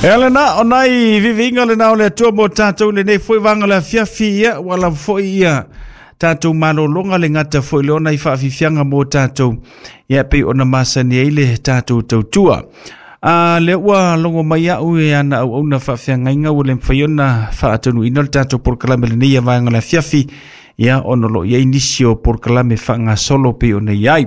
E ala na o nai viviga le na o le Atua mo tātou lenei foi vanga le afiafi ia ua lava foi ia tātou malologa le gata foi le ona i faafiafiaga mo tātou ia pei ona masani ai le tātou tautua. A lea ua logo mai au e ana auauna faafeagaiga ua le mafai ona faatonuina le tatou polokalame lenei ia vaega o le afiafi ia ona o lo o i ai nisi o polokalame faagasolo pei ona i ai.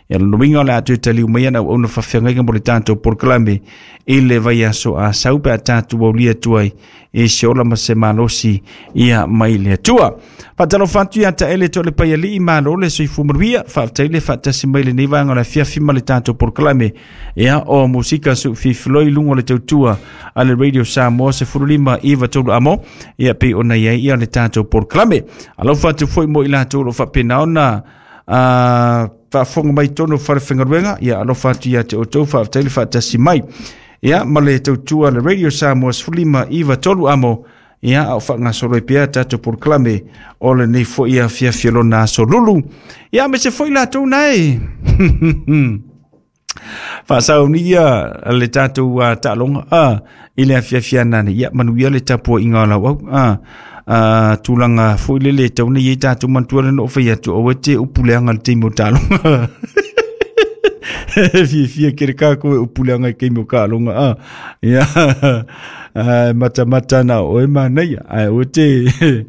Ia lona uiga o le a toe taliu mai ana auauna faafeagaiga mo le tatou polokalame i le vaiaso a sau pe a tatou aulia atu ai i se ola ma se malosi ia mai le Atua. Faatalofa atu ia Taele Toalepaialii, malo le soifua manuia, faafetai le faatasi mai lenei vaega o le afiafi ma le tatou polokalame ia o musika suufifiloi i luga o le tautua a le Radio Samoa 15 iva tolu amo ia pei ona i ai ia le tatou polokalame. Alofa atu foi mo i latou o lo o faapena ona faafofoga mai tonu o falefaigaluega ia alofa atu ia te outou, faafetai le faatasi mai ia ma le tautua le Radio Samoa 15 iva tolu amo ia a o faagasolo ai pea tatou polokalame o lenei foi afiafi o lona aso lulu ia me se foi latou nae faasauni ia le tatou taaloga i le afiafi anane ia manuia le tapuaiga o lau au tulaga foi lele e tau nei ai tatou manatua le na ou fai atu aua e te upu leaga i le taimi o taaloga. Fiafia kere kākou e upu leaga i taimi o taaloga a. Ia matamata ana o oe manaia ae aua e te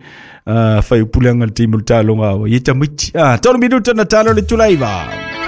fai upu leaga i le taimi o le taaloga a oe. Ia tamaiti. 3 minuta na talo le itula 9.